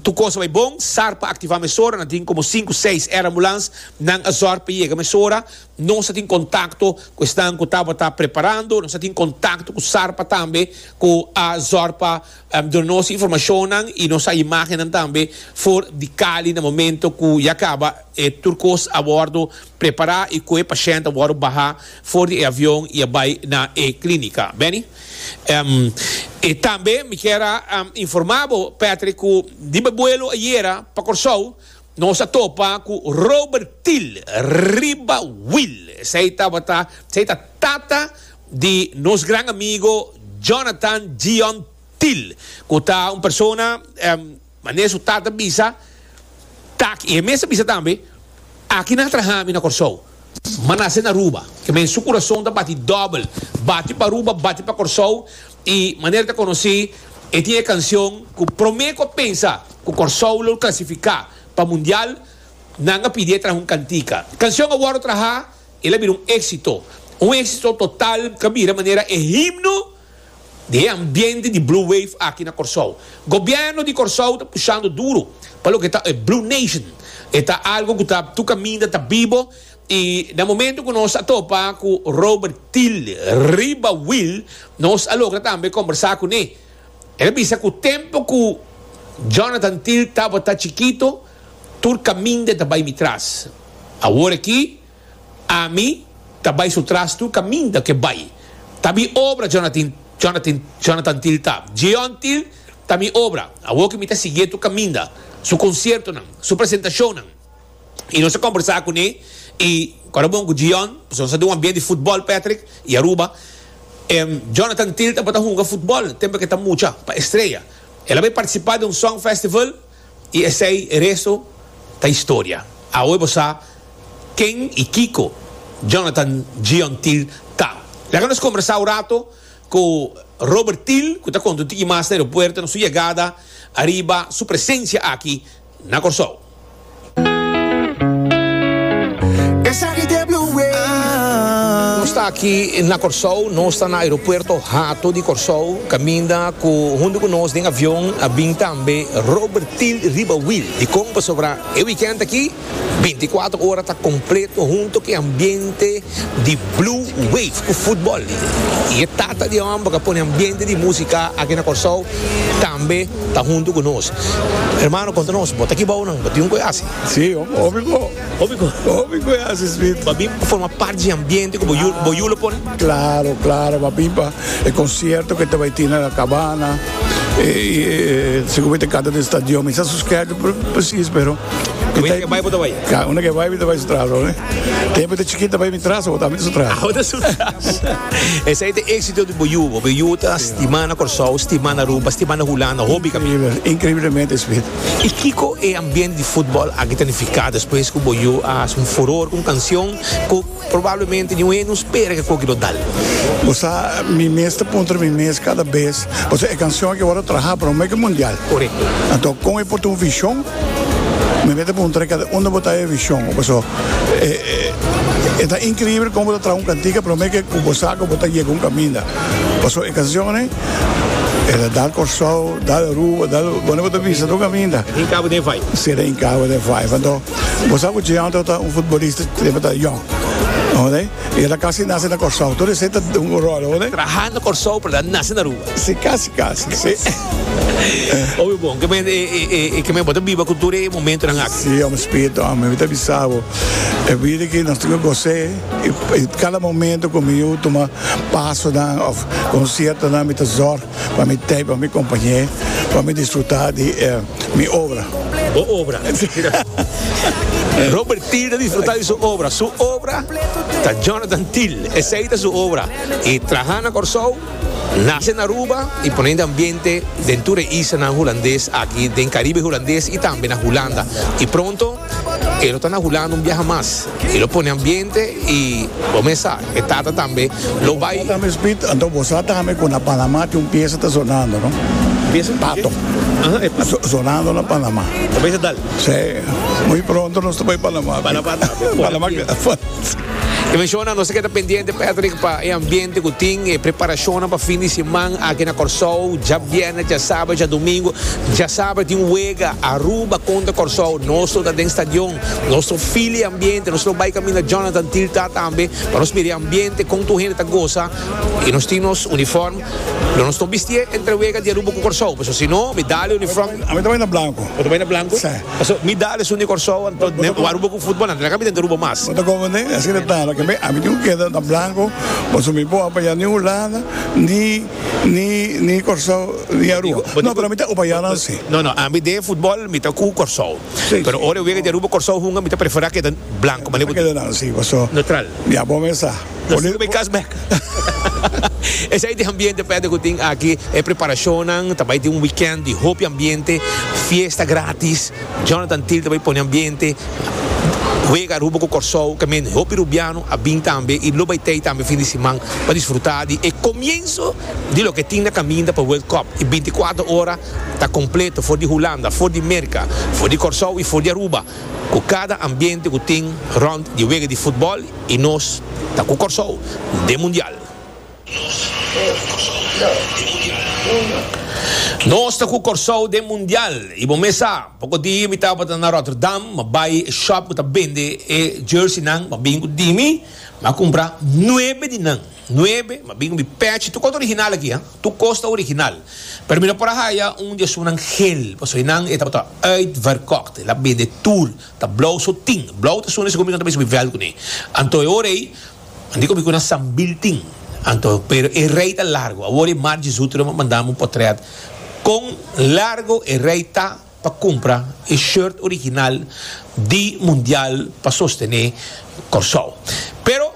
tur kos a bai bon, SARP a aktivá mesora, nan tin komo sinku, seis air ambulans, nan a zòrg pa yega mesora. Nos a tin kontakto ku esnan ku tabata preparando, nos a tin kontakto ku SARPA tambe ku a zòrg pa duna nos informashonnan i nos a imágennan tambe for di Cali na momento ku ya kaba e tur kos a wòrdu prepará i ku e pashènt a wòrdu bahá for di e avion i a bai na e klínika. Benny? E tambe mi kier a informá bo, Patrick, ku di mi buelo ayera pa Kòrsou, nos a topa ku Robert Thiel riba wiel. Esei tabata, esei ta tata di nos gran amigo Jonathan Gion Thiel, ku ta un persona, manera su tata bisa, tak, i e mes a bisa tambe, aki nan a traha mi na Kòrsou, m'a nase na Aruba. Ke men su kurason ta bati dòbel, bati pa Aruba, bati pa Kòrsou, i manera ta konosí, e tin e kansion ku promé ku a pensa ku Kòrsou lo klasifiká pa mundial, nan a pidi e traha un kantika. Kansion a wòrdu trahá, el a bira un éksito. Un éksito total ku a bira manera e himno di e ambiente di Blue Wave aki na Kòrsou. Gobièrnu di Kòrsou ta pushando duru pa loke ta e Blue Nation. E ta algu ku ta tur kaminda ta bibo i na momento ku nos a topa ku Robert Thiel riba wiel, nos a logra tambe kombersá kuné. El a bisa ku tempu ku Jonathan Thiel tabata chikito, tur kaminda e ta bai mi tras. Awor aki, ami ta bai su tras tur kaminda ku e bai. Ta mi obra, Jonathan Jonathan, Jonathan Thiel ta. Jeon Thiel ta mi obra. Awor ku mi ta sigui tur kaminda. Su konsiertonan, su presentashonnan. I nos a kombersá kuné i kòrda bon ku Jeon, pasobra nos ta den un ambiente di futbòl, Patrick, i Aruba. Em, Jonathan Thiel tabata hunga futbòl tempu ku e ta mucha pa Estrella. El a bai partisipá den un song festival i esei e resto ta historia. Awe bo sa ken i kiko Jonathan Jeon Thiel ta. Laga nos kombersá un rato ku Robert Thiel ku ta konta un tiki mas na aeropuerto na su yegada ariba su presensia aki na Kòrsou. Nos ta aki na Kòrsou, nos ta na aeropuerto Hato di Kòrsou, kaminda ku huntu ku nos den avion a bin tambe Robert Thiel riba wiel. Dikon? Pasobra e wikènt aki binti kuater ora ta kompleto huntu ku e ambiente di Blue Wave ku futbòl. I e tata di e hòmber ku a pone ambiente di músika aki na Kòrsou tambe ta huntu ku nos. Hermano, konta nos, bo ta ki bou nan? Bo tin un ku e hasi? Sí, hopi ku. Hopi ku. Hopi ku e hasi, Smith. Bo a bin pa forma parti di e ambiente ku bo yu, bo yu lo pone? Klaro, klaro. Bo a bin pa e konsierto ku e ta bai tin na La Cabana. E, segun mi ta kanta den stadion. Mi sa su schedule precies, pero. Unda ke bai bo ta bai? Ka, unda ke bai mi ta bai su tras, hoor. Tempo ta chikito bai mi tras, bo ta mi ta su tras. Bo ta su tras. Esei ta e éxito di bo yu. Bo yu ta stima na Kòrsou, stima na Aruba, stima na Hulanda, hopi kaminda. Increíble, increíblemente, Smith. I kiko e ambiente di futbòl aki ta nifiká despues ku bo yu a hasi un furor ku un kansion ku probablemente niun hende no spera ke koki lo dal? Bo sa, mi mes ta puntra mi mes kada bes, pasobra e kansion aki wòrdu traha promé ku mundial. Korekto. Anto kon e por ta un vishon? Mi mester puntra kada unda bo ta e vision, paso e ta increíble como bo ta traha un cantica prome ke ku bo sa ku bo ta yega un caminda. Paso e cancionnan e ta dal Corsou, dal Aruba, dal bo no bo ta bisa tur caminda. Den cabo den vibe. Si, den cabo den vibe. Anto bo sa ku Jean tabata un futbolista tempo ta yong, oke, i el a casi nace na Corsou. Tur esei ta un rol, oke. Traha na Corsou pero el a nace na Aruba. Si, casi casi, si. Hopi bon. Ke men e ke men bo ta biba ku tur e momentonan aki. Si, hòmber spiritu, hòmber, mi ta bisa bo, e bida aki nos tin ku gos'é i kada momento ku mi yu tuma pasonan òf konsiertonan mi ta zòrg pa mi tei, pa mi kompañ'é, pa mi disfrutá di mi obra. Bo obra. Robert Thiel ta disfrutá di su obra. Su obra ta Jonathan Thiel. Esei ta su obra. I traha na Kòrsou. Nace na Aruba y poniendo ambiente den tur e islanan Hulandes aki den Caribe Hulandes y tambe na Hulanda. Y pronto e lo ta na Hulanda un biaha mas. E lo pone ambiente y bo mes sa e tata tambe lo bay. Bo tambe Speed, anto bo sa tambe cu na Panama tin un pieza ta sonando, no? Pieza? Pato. Aha, e pato. Sonando na Panama. Ta bay sa dal? Sí, muy pronto nos ta bay Panama. Panama tambe. Panama. E menshona nos ta keda pendiente, Patrick, pa e ambiente ku tin, e preparashonnan pa fin di siman aki na Kòrsou, djabièrnè, djasabra, djadumingu. Djasabra tin un wega Aruba kontra Kòrsou. Nos lo ta den stadion, nos lo feel e ambiente, nos lo bai kaminda Jonathan Thiel ta tambe pa nos mira e ambiente, kon tur hende ta gosa i nos tin nos uniform. Lo nos no bistié entre wega di Aruba ku Kòrsou, pasobra si no mi dal e uniform. Ami ta bai na blanko. Bo ta bai na blanko? Sí. Pasobra mi dal esun di Kòrsou, anto Aruba ku futbòl, anto laga mi den Aruba mas. Bo ta komprendé? Asina ta, loke mi, ami tin ku keda na blanko, pasobra mi por apoyá ni Hulanda, ni, ni, ni Kòrsou, ni Aruba. No, pero mi ta apoyá nan sí. No, no, ami den futbòl mi ta ku Kòrsou. Sí, Pero sí. ora e wega di Aruba Kòrsou hunga mi ta preferá keda blanko, manera bo. Keda nan sí, pasobra. Neutral. Ya bo mes sa. Nos tin ku bai kas bek. Esei ta e ambiente p'e ku tin aki. E preparashonnan ta bai tin un weekend di hopi ambiente, fiesta gratis. Jonathan Thiel ta bai pone ambiente. Wega Aruba ku Kòrsou ke men hopi rubiano a bin tambe i lo bai tei tambe fin di siman pa disfrutá di e komienso di loke tin na kaminda pa World Cup. I binti kuater ora ta kompleto for di Hulanda, for di Merka, for di Kòrsou i for di Aruba ku kada ambiente ku tin rònt di wega di futbòl. I nos ta ku Kòrsou den Mundial. Nos ta ku Kòrsou den Mundial. I bo mes sa, poko dia mi tabata na Rotterdam, m'a bai e shop ku ta bende e jerseynan, m'a bin ku di mi, m'a kumpra nuebe di nan. Nuebe, m'a bin ku mi pèchi, tur kos ta original aki, ha, tur kos ta original. Pero mi no por a haya un di esunnan gel, pasobra einan e tabata uitverkocht, el a bende tur. Ta blou so tin. Blou ta suna segun mi no ta bisa mi vèlt kuné. Anto e ora ei, mi di ku mi ku na Sambil tin. Anto, pero e rij ta largo. Awor e Margie Zutro a manda un portret con largo e rij ta pa cumpra e shirt original di Mundial pa sostene Corsou. Pero,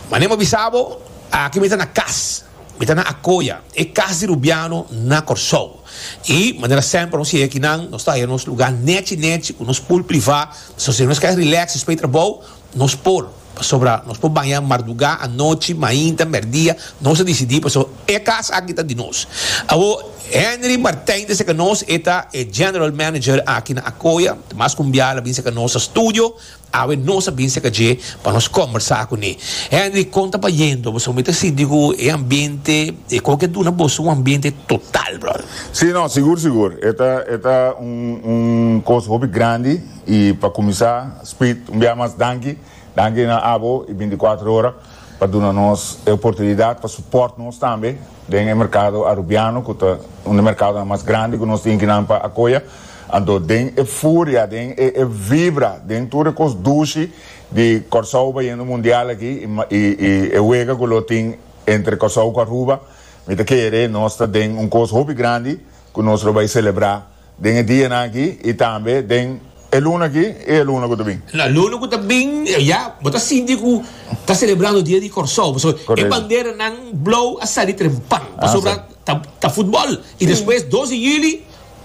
manera mi a bisa bo, aki mi ta na cas, mi ta na Acoya, e cas di Rubiano na Corsou. Y manera semper, nos aki nan, nos ta na nos lugar nechi nechi, cu nos pool priva, so si nos kier relax, spera trabou, nos por, sobra, nos por baña marduga, anochi, mainta, merdia, nos a dicidi, so, e cas aki ta di nos. Awo, Henry Martijn ta cu nos, e ta e general manager aki na Acoya, mas cu biala, bin cu nos studio, awe nos a bin cu dje pa nos combersa cu ne. Henry, con ta bayendo, bo ta sinti e ambiente, e cualkier duna bo un ambiente total, brother. Si, no, sigur, sigur. E ta, e ta un, un cos hopi grandi y pa cuminsa, Speed, un biaha mas danki, danki na abo y binticuater Ora pa duna nos e oportunidad pa support nos tambe den e mercado arubiano, cu ta un mercado mas grandi cu nos tin aki pa Acoya. Anto, den e furia, den e, e vibra, den tur cos dushi di Corsou bayendo Mundial aki y, y, y, e wega cu tin entre Corsou y Aruba. Mi ta kere, nos ta den un cos hopi grandi cu nos ta bay celebra den e dia aki y tambe den e luna aki y e luna cu ta bin. Na luna cu ta bin, ya, bo ta sinti cu ta celebrando dia di Corsou. So, e banderanan blauw a sali trempan. Ah, Sobre ta, ta futbol. Y despues, dos di juli,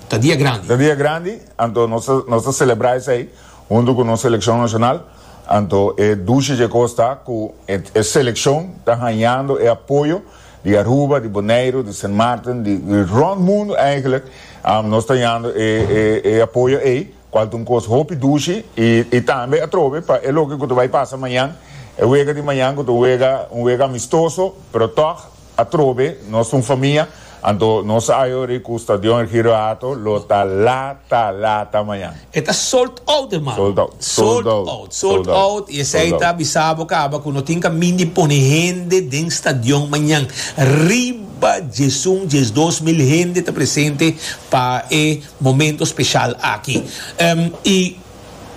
ta dia grandi. Ta dia grandi, anto nos nos ta celebra esey hunto cu nos seleccion nacional. Anto, e dushi di cos ta cu e seleccion ta ganando e apoyo di Aruba, di Bonaire, di Saint Martin, di, di rond mundo eigenlijk. Um, nos ta ganando e, e, e apoyo ey, cual un cos hopi dushi y, y tambe atrobe pa e loke cu ta bay pasa mañan. E wega di mañan cu ta wega un wega amistoso, pero toch atrobe nos ta un famia. Anto nos ayori cu Stadion Ergilio Hato lo ta lata lata mañan. E ta sold out, man. Sold out. Sold Sold out. Out. Sold Sold out. Out. Y esey Sold ta out. Bisa bo caba cu no tin caminda di pone hende den stadion mañan. Riba diesun, diesdos mil hende ta presente pa e momento special aki. Um, y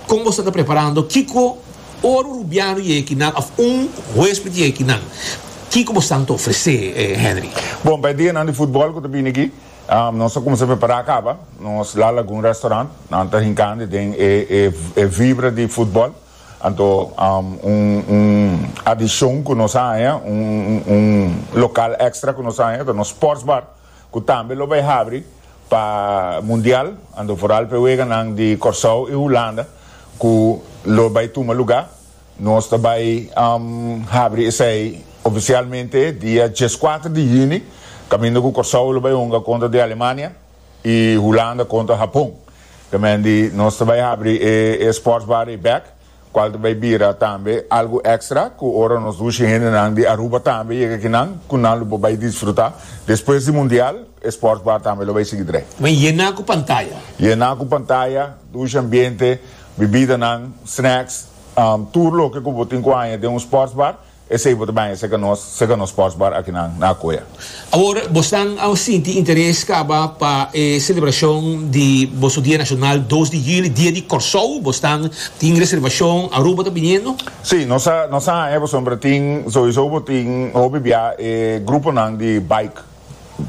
con bo ta preparando? Kico, ora Rubiano yega akinan, of un huesped yega akinan. Kico bo ta ofrece, eh, Henry? Bon, pa e dia di futbol cu ta bin aki, um, nos a cuminsa prepara caba, nos La Lagoon Restaurant, nan ta hincando den e, e, e vibra di futbol. Anto, um, un, un adicion cu nos tin, un, un local extra cu nos tin, nos sports bar, cu tambe lo bay habri pa Mundial, anto vooral pa weganan di Corsou y Hulanda, cu lo bay tuma lugar. Nos ta bay um, habri esey oficialmente dia diescuater di juni, caminda cu Corsou lo bay hunga contra di Alemania y Hulanda contra Japon. Tambe di, nos ta bay habri e, e sports bar e back, cual bay bira tambe algo extra, cu ora nos dushi hendenan di Aruba tambe yega akinan, cu nan lo bay disfruta. Despues di Mundial, e sports bar tambe lo bay sigui drai. Mas yena cu pantaya. Yena cu pantaya, dushi ambiente, bebidanan, snacks, um, tur loke cu bo tin cu den un sports bar, esey bo tambe, esey nos, esey nos sports bar aki na, na Acoya. Awor, bo a sinti interes caba pa eh, celebracion di bo Dia Nacional dos di juli, Dia di Corsou, bo tin reservacion, Aruba ta bini? Si, nos nos e pasobra tin sowieso tin hopi bia e gruponan di bike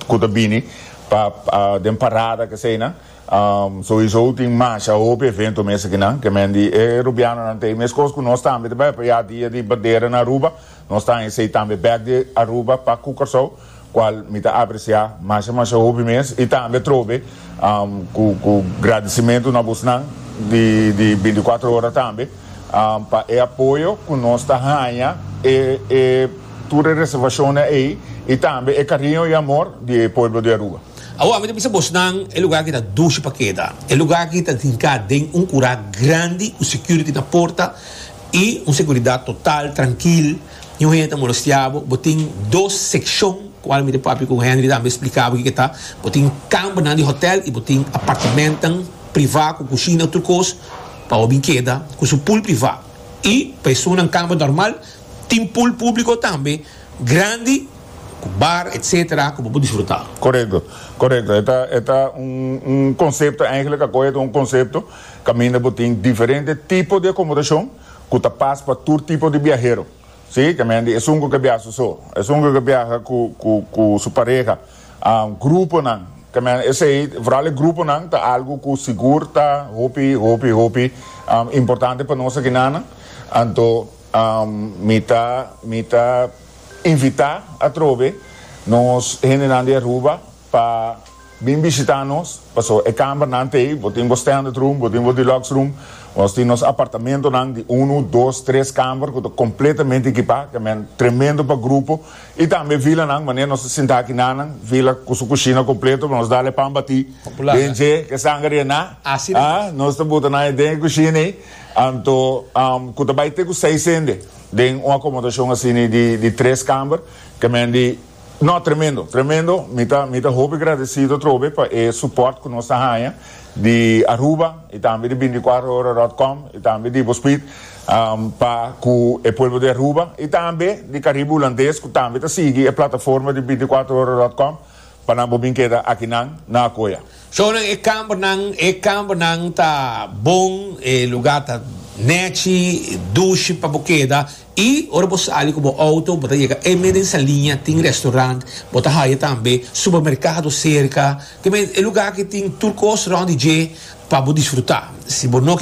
cu ta bini pa uh, den parada cu sei na. Um, sowieso tin mas hopi evento mes akinan, kiermen di e Rubianonan tin mes cos cu nos tambe tambe pa ya dia di bandera na Aruba, nos ta esey tambe back di Aruba pa Corsou, cual mi ta aprecia mas mas hopi mes y tambe trobe um, cu cu agradecimento na bosnan di di binticuater Ora tambe um, pa e apoyo cu nos ta haya e e tur reservacion ey y tambe e cariño y amor di pueblo di Aruba. Awor, ami ta bisa bosnan, e lugar aki ta dushi pa keda. E lugar aki ta hinca den un cura grandi, cu security na porta y un seguridad total, trankil, ningun hende ta molestia bo. Bo tin dos seccion, cual mi ta papia cu Henry tambe explica kico ta. Bo tin camber di hotel y bo tin apartamento priva cu cushina, otro cos, pa bo keda, cu su pool priva. Y pa un camber normal, tin pool publico tambe, grandi, cu bar, et cetera, cu bo disfruta. Correcto, correcto. E ta, e ta un, un concepto, eigenlijk Acoya un concepto, caminda bo tin diferente tipo di acomodacion, cu ta pas pa tur tipo di viahero. Si, ke men esun ku biaha so, esun ku biaha ku ku ku su pareha, um, gruponan, ke men esei, vooral gruponan, ta algo ku sigur ta hopi hopi hopi um, importante pa nos aki nan. Anto um, mi ta mi ta invitá atrobe nos hendenan di Aruba pa bin bishitá nos, paso e kambernan tei, bo tin standard room, bo tin deluxe room, nos tin apartamentonan di un, dos, tres kamber, ku ta kompletamente ekipá, ku ta tremendo pa grupo, i tambe villanan, manera nos sinta aki nan, villa ku su kushina kompleto, nos dal e pan bati, den dje, ku sanger na, ah, nos ta bota na den kushina, anto, um, ku tambe tin ku seis hende, den un akomodashon asina di, di tres kamber, ke men di no, tremendo, tremendo. Mi ta, mi ta hopi gradesido trobe pa e support ku nos a di Aruba i tambe di bintikuater ora punto com i tambe di Bospeed um, pa ku e pueblo di Aruba i tambe di Caribe Hulandes, ku tambe ta sigui e plataforma di bintikuater ora punto com pa nan bin keda aki nan na Acoya. So nan e kambernan, e kambernan ta bon, e lugá ta nechi, dushi pa bo keda i ora bo sali ku bo outo, bo ta yega e mes den Saliña, tin restaurant, bo ta haya tambe supermerkado serka, ke men e lugá ku tin tur kos rònt di dje pa bo disfrutá. Si bo no